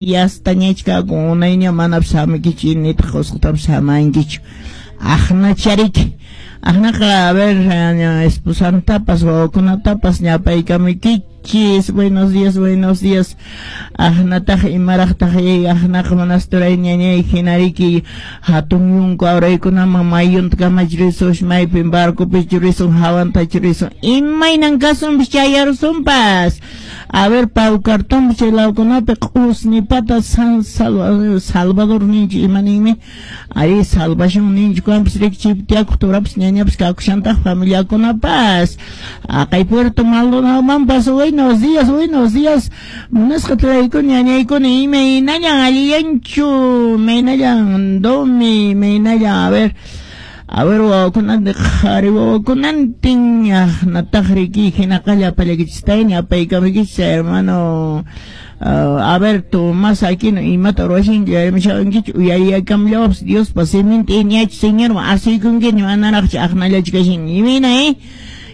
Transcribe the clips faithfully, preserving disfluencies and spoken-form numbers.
Yastañachkakun unayña manapas hamukichu nitaq usqhaytapas hamankichu aqnachariki aqnaqa a ver esposantapas wawakunatapas ñapaykamukichis. Buenos días, buenos días. Aqnataq imaraqtaq aqnaqa monasturay ñañay hinariki hatun yunku awraykunaman mayunta kamachi maypin barcopi risun hawantachu risun imaynan kasunpas chayarusunpas. A ver, Paucartambo chay lawkunapi q'usnipata San Salvador ninchik ima ninmi ari salvación ninchik kuanpas riki chaypi tiyakuq turapas ñañapas kakushantaq familiakunapas aqay Puerto Maldonadomanpas. Buenos días, buenos días. Munasqa turaykuna ñañaykuna imaynallan allillanchu imaynallan domi imaynallan a ver a ver wawakunantin qhari wawakunantin aqnataq riki hinaqa llapallaykichistayni ñapaykamukichis hermano uh, a ver Tomás Aquino imata ruwashanki uyarimushawankichu uyariyakamllawapas Diospa siminta iñachi Señorman asuykunkiña manaraqchu aqnallachu kashanki imayna eh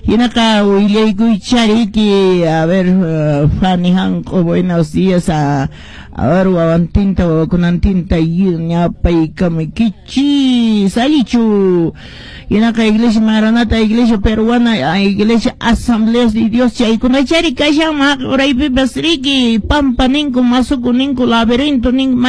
hinaqa willaykuychariki a ver uh, Fanny Hanq'u buenos días a a ver wawantinta wawakunantinta ñapaykamukichis allichu hinaqa Iglesia Maranata, Iglesia Peruana, Iglesia Asambleas de Dios chaykunachari kashan uraypipas riki pampa ninku masuku ninku laberinto ninku.